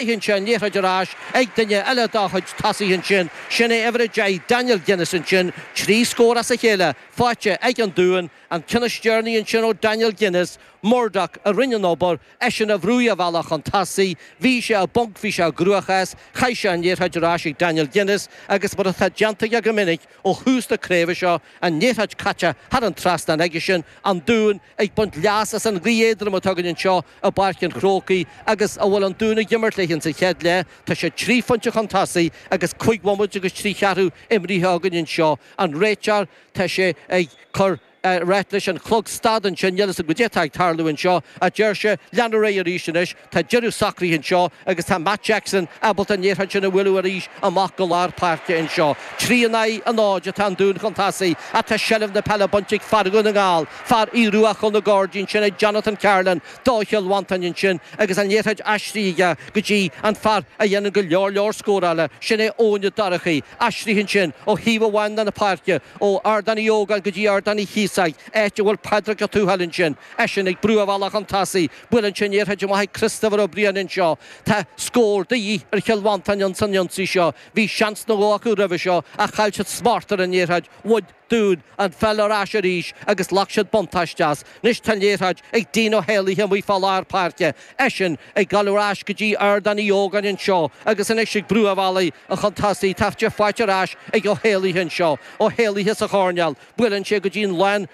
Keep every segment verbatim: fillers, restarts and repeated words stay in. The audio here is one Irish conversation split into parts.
Faigheann sé an liathróid ar ais ag duine eile dá chuid tosaithe ansin. Sin é uimhir a deich, Daniel Guinness ansin. Trí scór as a chéile faighte ag an Dún. An ceann is deireanaí ansin ó Daniel Guinness. Murdoch a rinne an obair, eisean a bhrúigh a bhealach chun tosaigh. Bhí sé i bponc, bhí sé i gcruachás. Chaith sé an liathróid ar ais ag Daniel Guinness agus mar atá déanta aige go minic ó thús na craoibhe seo, an liathróid caite thar an trasnán aigesean. An Dún ag baint leas as an ghaoth éadrom atá againn anseo i bPáirc an Chrócaigh agus a bhfuil an Dún ag imirt léi insa chéad leath. Tá siad trí phointe chun tosaigh agus cúig bhomaite agus trí cheathrú imrithe againn anseo. An réiteoir, tá sé ag cur rá leis an chlog stad ansin, níl fhios agam goidé atá ag tarlú anseo, a deir sé, lean ar aghaidh arís anois, tá deireadh socraithe anseo agus tá Matt Jackson ábalta an liathróid sin a bhualadh arís amach go lár páirce anseo. Trí in aghaidh a náid atá an Dún chun tosaigh ach tá seilbh na peile bainte ag fear Dhún na nGall, fear Aodh Ruadh Chúl na Gairdín, sin é Jonathan Carolan do Chill Mhantáin ansin agus an liathróid aistrithe aige go dtí an fear a dhéanann go leor leor scórála, sin é Eoin Ó Dorchaí, aistrithe ansin ó thaobh amháin de na páirce, ó Ardán Uí Ógáin go dtí Ardán Uí Chíosóg, áit a bhfuil Pádraig Ó Tuathail ansin, eisean ag brú a bhealach chun tosaigh, buaileann sé an liathróid amach ag Christopher Ó Briain anseo. Tá scór de dhíth ar Chill Mhantáin ins an ionsaí seo. Bhí seans nó dhó acu roimhe seo ach chaill siad smacht ar an liathróid. Bhain Dún an pheil ar ais arís agus ghlac siad buntáiste as. Anois tá an liathróid ag Dean Ó hÉalaithe amuigh fá lár páirce, eisean ag dul ar ais go dtí Ardán Uí Ógáin anseo agus anois ag brú a bhealaigh chun tosaigh. Tá sé faighte ar ais ag Ó hÉalaithe anseo. Ó hÉalaithe sa choirnéal. Buaileann sé go dtí an lán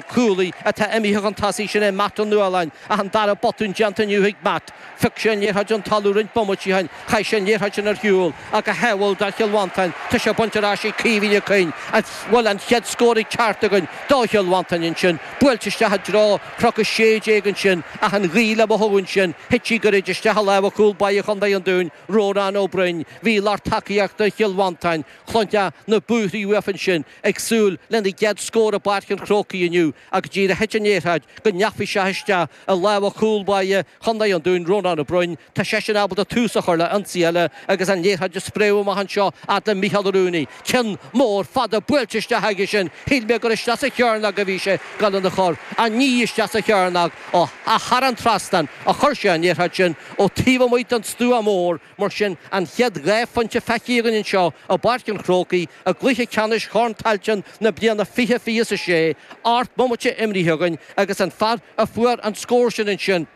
chúlaí atá imithe chun tosaigh, sin é Matt Ó Nualláin, ach an dara botún déanta inniu ag Matt. Phioc sé an liathróid ón talamh roinnt bomaití ó shin, chaith sé an liathróid sin ar shiúl ach go hádhúil do Chill Mhantáin, tá sé bainte ar ais ag Caoimhín Ó Coinn. An bhfuil an chéad scór ag teacht againn do Chill Mhantáin ansin? Buailte isteach i dtreo Chnoc a Sé Déag ansin ach an ghaoth le mothú ansin, thit sí gairid isteach i lámha chúl báire Chontae an Dúin, Rónán Ó Broin. Bhí lucht tacaíochta Chill Mhantáin, cluinfeá na búirthí uafa ansin, ag súil lena gcéad scór i bPáirc an Chrócaigh inniu ach go díreach thit an liathróid go ndeachaigh sé isteach i lámha chúl báire Chontae an Dúin, Rónán Ó Broin. Tá seisean ábalta tús a chur le ionsaí eile agus an liathróid ag spréadh amach anseo fhad le Mícheál Ó Rúnaí. Ceann mór fada buailte isteach aige sin. Shíl mé gur isteach sa chearnóg a bhí sé ag dul lena chur. Ach ní isteach sa chearnóg ach thar an trasnán a chuir sé an liathróid sin ó taobh amuigh den stua mór. Mar sin, an chéad dhá phointe feicthe againn anseo i bPáirc an Chrócaigh i gcluiche ceannais Chorn Tailteann na bliana fiche fiche is a sé, ocht mbomaite imrithe againn agus an fear a fuair an scór sin ansin,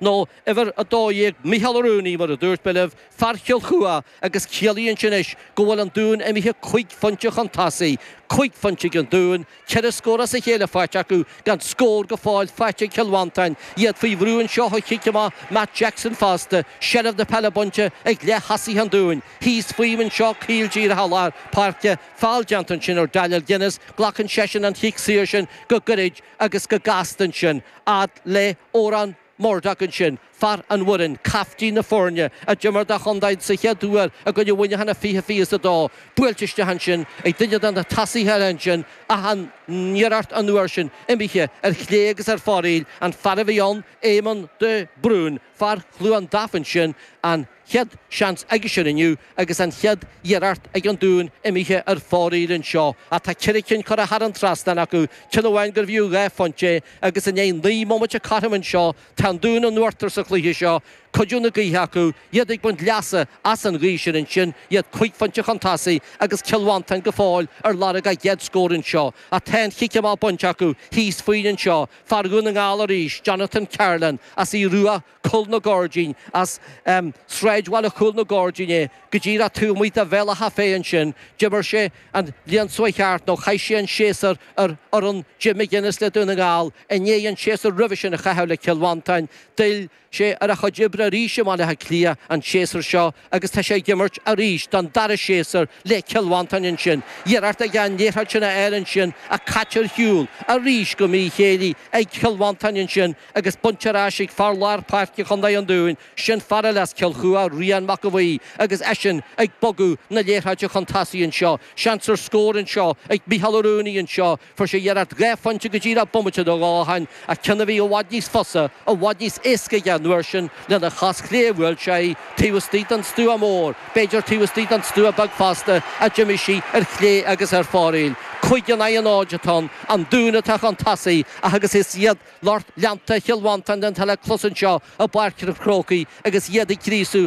nó uimhir a dó dhéag, Mícheál Ó Rúnaí, mar a dúirt mé libh, fear Chill Chua, agus ciallaíonn sin anois go bhfuil an Dún imithe cúig phointe chun tosaigh. Cúig phointe ag an Dún, ceithre scór as a chéile faighte acu, gan scór go fóill faighte ag Cill Mhantáin. Iad faoi bhrú anseo ó chic amach Matt Jackson fosta. Seilbh na peile bainte ag leath-thosaithe an Dúin. Thíos fúm anseo caol díreach i lár páirce. Feall déanta ansin ar Daniel Guinness. Glacann seisean an chic saor sin go gairid agus go gasta ansin. Fhad le Odhrán Murdock ansin, fear an Bhoirinn, caiftín na foirne, a d'imir dá chontae sa chéad uair i gcoinne Mhuineacháin i fiche fiche is a dó, buailte isteach ansin ag duine de na tosaithe eile ansin ach an iarracht an uair sin imithe ar chlé agus ar fóraoil, an fear a bhí ann, Éamonn de Brún, fear Chluain Daimh ansin, an chéad seans aigesean inniu agus an chéad iarracht ag an Dún imithe ar fóraoil anseo. Ach tá ceithre cinn curtha thar an trasnán acu, ceann amháin gurbh fhiú dhá phointe é agus i ndiaidh naoi mbomaite cothrom anseo tá an Dún in uachtar sa chluiche seo, cuidiú na gaoithe acu, iad ag baint leasa as an ghaoth sin ansin, iad cúig phointe chun tosaigh agus Cill Mhantáin go fóill ar lorg a gcéad scór anseo. Ach tá an chic amach bainte acu thíos fúinn anseo, fear Dhún na nGall arís, Jonathan Carolan as Aodh Ruadh, Cúl na Gairdín, as sráidbhaile Chúl na Gairdín é, go díreach taobh amuigh de Bhéal Átha Féith ansin. D'imir sé an bhliain seo thart, nó chaith sé an séasúr ar fhoireann Jim McGuinness le Dún na nGall, i ndiaidh an séasúr roimhe sin a chaitheamh le Cill Mhantáin. D'fhill sé ar a chuid oibre arís i mBaile Átha Cliath an séasúr seo agus tá sé ag imirt arís don dara séasúr le Cill Mhantáin ansin. Iarracht aige an liathróid sin a fháil ansin ach caite ar shiúl arís go míchéillí ag Cill Mhantáin ansin agus bainte ar ais ag fear lár páirce Chontae an Dúin, sin fear eile as Cill Chua, Rian Mac a' Bhuí, agus eisean ag bogadh na liathróide chun tosaigh anseo. Seans ar scór anseo ag Mícheál Ó Rúnaí anseo. Fuair sé iarracht dhá phointe go díreach bomaite nó dhó ó shin, ach ceann a bhí i bhfad níos fusa, i bhfad níos éasca aige an uair sin lena Ar a chos chlé a bhuail sé taobh istigh den stua mór, b'fhéidir taobh istigh den stua beag fosta, a d'imigh sí ar chlé agus ar fóraoil. Cúig in aghaidh a náid atá ann, an Dún atá chun tosaigh ach agus is iad lucht leanta Chill Mhantáin atá le clos anseo i bPáirc an Chrócaigh agus iad ag gríosú